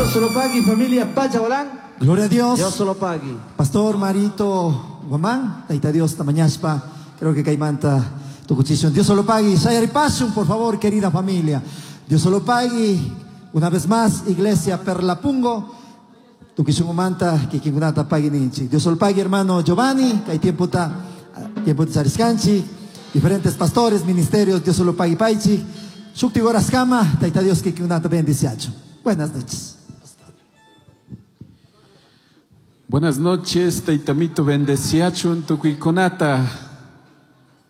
Dios se lo pague, familia Pachabolán. Gloria a Dios. Dios se lo pague. Pastor Marito Guamán, Taita Dios Tamañaspa, creo que Caimanta Tucuchishun. Dios se lo pague. Sayaripasun, por favor, querida familia. Dios se lo pague. Una vez más, Iglesia Perlapungo. Tukishungumanta, kikinkunata pague ninchi. Dios se lo pague, hermano Giovanni, que hay tiempo ta, tiempo de Chariscanchi. Diferentes pastores, ministerios, Dios se lo pague paichi. Shukti goraskama, Taita Dios kikinkunata bendiciacho. Buenas noches. Buenas noches, Taitamito bendeciachun tukuykunata.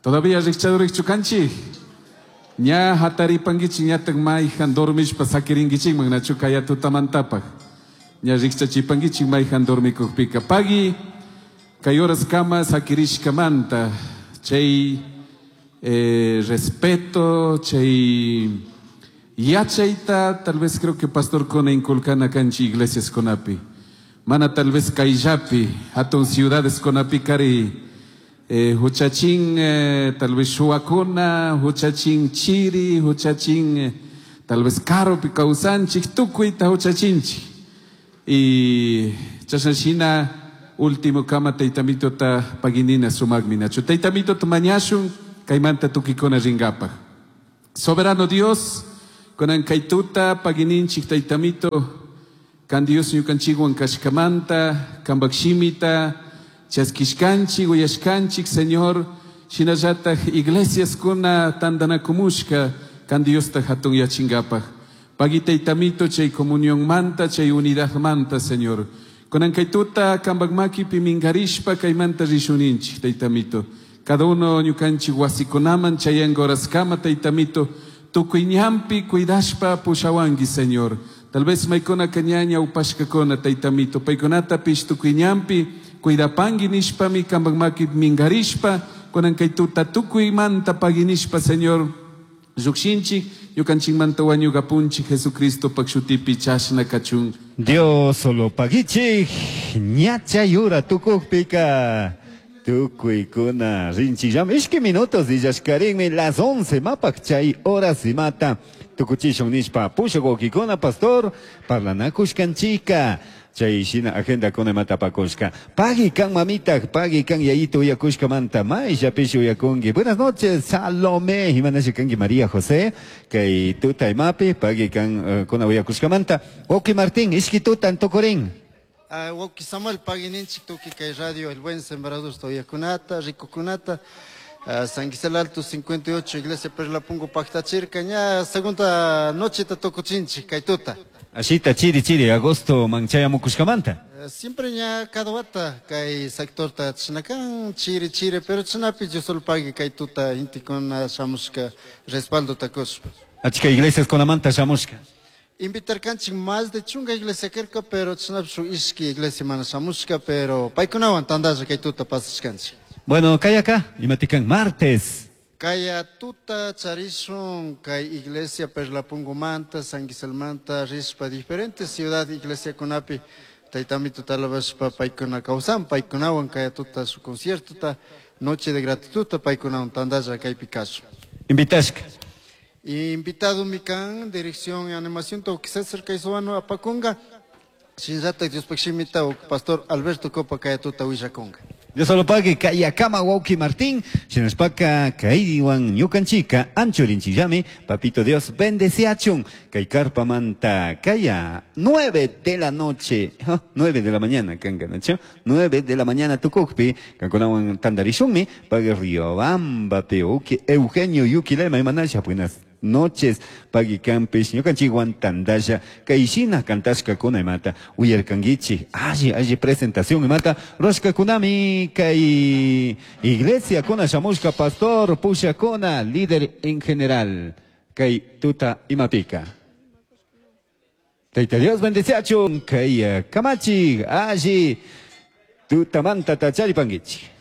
Todavía rikchado rikchukanchik. Ña hataripankichik ñataq mayhan dormishpa sakirinkichikman nachu kaya tutamantapaq. Ña rikchachipankichik mayhan dormikukpika. Pagui kay horaskama sakirishkamanta. Chay respeto, chay yachayta, tal vez creo que pastor kona inculcana kanchi iglesias kunapi. Mana tal vez kayllapi, hatun ciudades kunapi kari, huchachin, tal vez shuwakuna, huchachin chiri, huchachin, tal vez karupi kawsanchik, tukuyta huchachinchik. Y chashnashina último kama taytamitota paginina sumaqmi nachu. Taytamitota mañashun kaymanta tukikuna rinkapaq. Soberano Dios, kunan kaytuta pagininchik taytamito, kan Dios ñukanchikwan kashkamanta, kanpak shimita, chaskishkanchik, uyashkanchik, Señor, shinallataj iglesias kuna tandanakumushka, kan Diosta hatun yachinkapaq. Pagui taytamito chay comunión manta, chay unidad manta, Señor. Kunan kaytuta kanpak makipi minkarishpa kaymanta rishuninchik, taytamito. Cada uno ñukanchik wasikunaman chayanka horaskama, taytamito, tukuy ñanpi cuidashpa pushawanki, Señor. Tal vez maykuna kañaña upashkakuna, taytamito, paykunatapish tukuy ñanpi cuidapanki nishpami kanpak makipi minkarishpa, kunan kaytuta tukuymanta paginishpa, Señor. Llukshinchik, ñukanchikmanta wañukapunchik, Jesucristo pak shutipi chashna kachun. Dios solo pagichik, ñacha yura tukukpika. Tukuykuna rinchillam, ishki minutos dillashkarinmi las 11 mapak chay horas imata. Tukuchishun nishpa pushak pastor parlanakushkanchika. Chay shina agenda kuna imata pakushka. Pagui kan mamita, pagui kan yayito uyakushka manta, mayllapish uyakunki. Buenas noches, Salomé, imanashi kanki María José, kay tuta imapi, pagui kan kuna uyakushka manta. Oki Martín, ishki tuta antokorin. Wauki Samuel, pagui ninchik tuki kay radio El Buen Sembrador uyakunata, rikukunata. San Gisela Alto 58, Iglesia Perlapungo, Pactachirca, ña segunda noche ta tokuchinchik, kay tuta. Ashita chiri chiri, agosto manchaya mukushkamanta. Siempre ña cada wata kay sector ta chinakan, chiri chiri, pero chinapi yo solo pagui kay tuta intikuna shamushka respaldo takushpa. Achka iglesias kunamanta shamushka. Invitar kanchik más de chunga iglesia kerka, pero chinapi su ishki iglesia mana shamushka, pero paykunawan tandalla kay tuta pasashkanchik. Bueno, kay acá, imatikan martes. Kaya tuta charishun kay iglesia Perlapungo manta, San Gisel manta, rishpa diferentes ciudad iglesia kunapi, taytamito talabashpa paykuna kawsan, paykunawan kaya tuta su concierto ta, noche de gratitud ta paykunawan tandalla kaypi kashun. Invitashka. Invitado mikan, dirección y animación, to César Kaizuano apakunga, shinllata Diospaq shimita, pastor Alberto Copa kaya tuta willakunga. Dios solo pague Kayakama Wauki Martín, Shinashpaka Kaiwan Ñukanchika, Anchorinchillami, Papito Dios bendeciachun, Kaikarpa Manta, Kaya, 9 de la noche, oh, 9 de la mañana, Kankanacho, 9 de la mañana Tukukpi, Kankunawan Tandarishunmi, Pague Riobamba, Peuki, Eugenio Yukilema, Imanasha, buenas noches, Pagui Campish, Ñukanchikwan Tandasha, Kaishina Kantashka Kuna imata, Uyarkanguichi, alli, alli presentación imata, Roshka Kunami, Kay Iglesia Kuna Shamushka, Pastor Pusha Kuna, líder en general, Kay Tuta Imapika. Taita Dios bendeciachun, Kay Kamachi, alli, Tuta Manta Tachari Panguichi.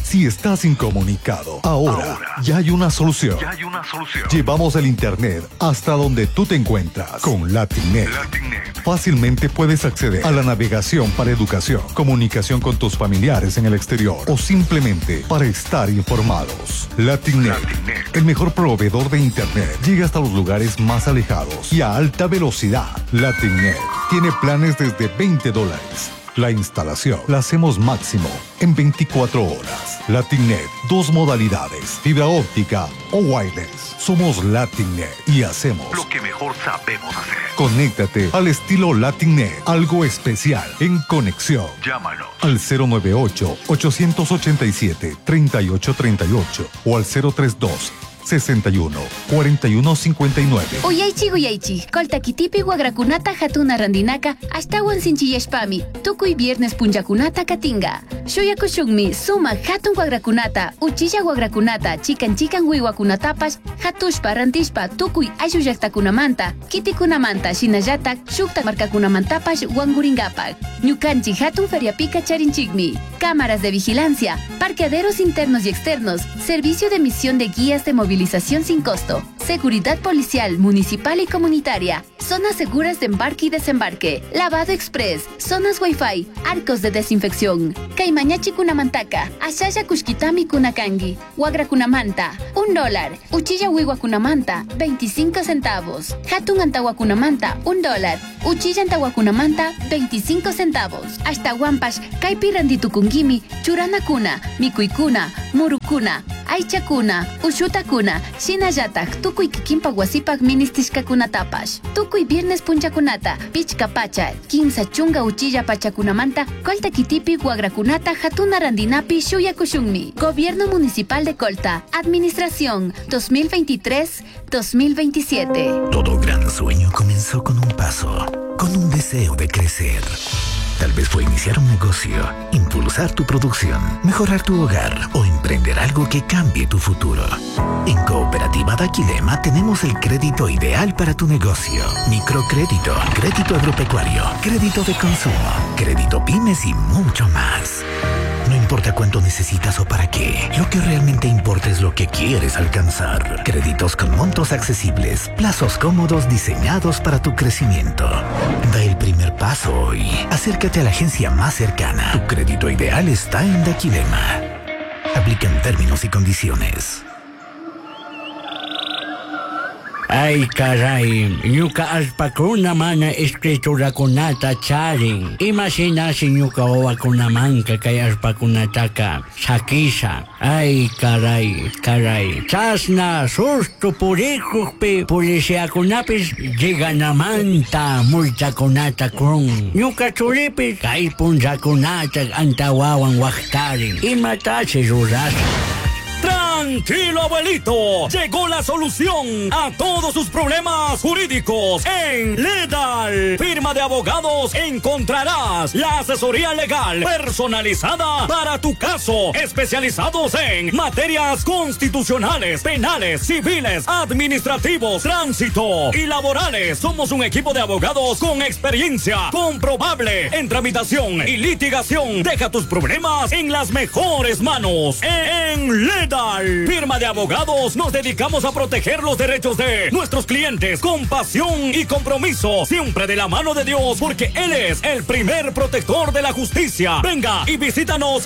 Si Si estás incomunicado, ahora, ya hay una solución. Ya hay una solución. Llevamos el internet hasta donde tú te encuentras con LatinNet. LatinNet. Fácilmente puedes acceder a la navegación para educación, comunicación con tus familiares en el exterior o simplemente para estar informados. LatinNet, LatinNet. el mejor proveedor de internet, llega hasta los lugares más alejados y a alta velocidad. LatinNet tiene planes desde 20 dólares. La instalación la hacemos máximo en 24 horas. LatinNet, dos modalidades, fibra óptica o wireless. Somos LatinNet y hacemos Lo que mejor sabemos hacer. Conéctate al estilo LatinNet, algo especial en conexión. Llámanos. Al 098-887-3838 o al 032 61 41 59. Uyaychik uyaychik, Colta kitipi wagrakunata hatuna randinaka ashtawan sinchiyashpami, tukuy viernes punllakunata katinga. Shuyakushunmi sumak hatun wagrakunata, uchilla wagrakunata, chikan chikan wiwakunatapash, hatushpa rantishpa tukuy ayllu llaktakunamanta, kitikunamanta, shinallatak shukta markakunamantapash wankurinkapak. Ñukanchik hatun feriapika charinchikmi. Cámaras de vigilancia, parqueaderos internos y externos, servicio de emisión de guías de movilización sin costo, seguridad policial, municipal y comunitaria, zonas seguras de embarque y desembarque, lavado express, zonas wifi, arcos de desinfección. Kay mañachi kunamantaka, ashalla kushkitami kunakangi, wagra kunamanta, $1, uchilla wiwa kunamanta, 25 centavos, hatun antawa kunamanta, $1, uchilla antawa kunamanta, 25 centavos. Ashtawanpash, kaypi rantitukunkimi, churanakuna, mikuykuna, murukuna, aychakuna, ushutakuna, shinallatak tukuy kikinpak wasipak ministishkakunatapash. Tukuy viernes punchakunata, pichka pacha, 30 uchilla pachakunamanta, Colta kitipi wagrakunata hatuna randinapi shuyakushunmi. Gobierno Municipal de Colta, Administración 2023-2027. Todo gran sueño comenzó con un paso, con un deseo de crecer. Tal vez fue iniciar un negocio, impulsar tu producción, mejorar tu hogar o emprender algo que cambie tu futuro. En Cooperativa Daquilema tenemos el crédito ideal para tu negocio. Microcrédito, crédito agropecuario, crédito de consumo, crédito pymes y mucho más. No importa cuánto necesitas o para qué, lo que realmente importa es lo que quieres alcanzar. Créditos con montos accesibles, plazos cómodos diseñados para tu crecimiento. Da el primer paso hoy. Acércate a la agencia más cercana. Tu crédito ideal está en Daquilema. Aplican términos y condiciones. Ay, caray, ñuka allpakuna mana escriturakunata charin. Imashinashi ñuka wawakunamanka kay allpakunataka sakisha. Ay, caray, caray. Chasna susto purikukpi policiakunapis lleganamanta multakunata kun. Ñuka churipis kay punllakunata antawawan waqtarin. Imatashi rurasha. Tranquilo, abuelito. Llegó la solución a todos sus problemas jurídicos en Ledal. Firma de abogados encontrarás la asesoría legal personalizada para tu caso. Especializados en materias constitucionales, penales, civiles, administrativos, tránsito y laborales. Somos un equipo de abogados con experiencia comprobable en tramitación y litigación. Deja tus problemas en las mejores manos. En Ledal. Firma de abogados, nos dedicamos a proteger los derechos de nuestros clientes con pasión y compromiso, siempre de la mano de Dios, porque Él es el primer protector de la justicia. Venga y visítanos.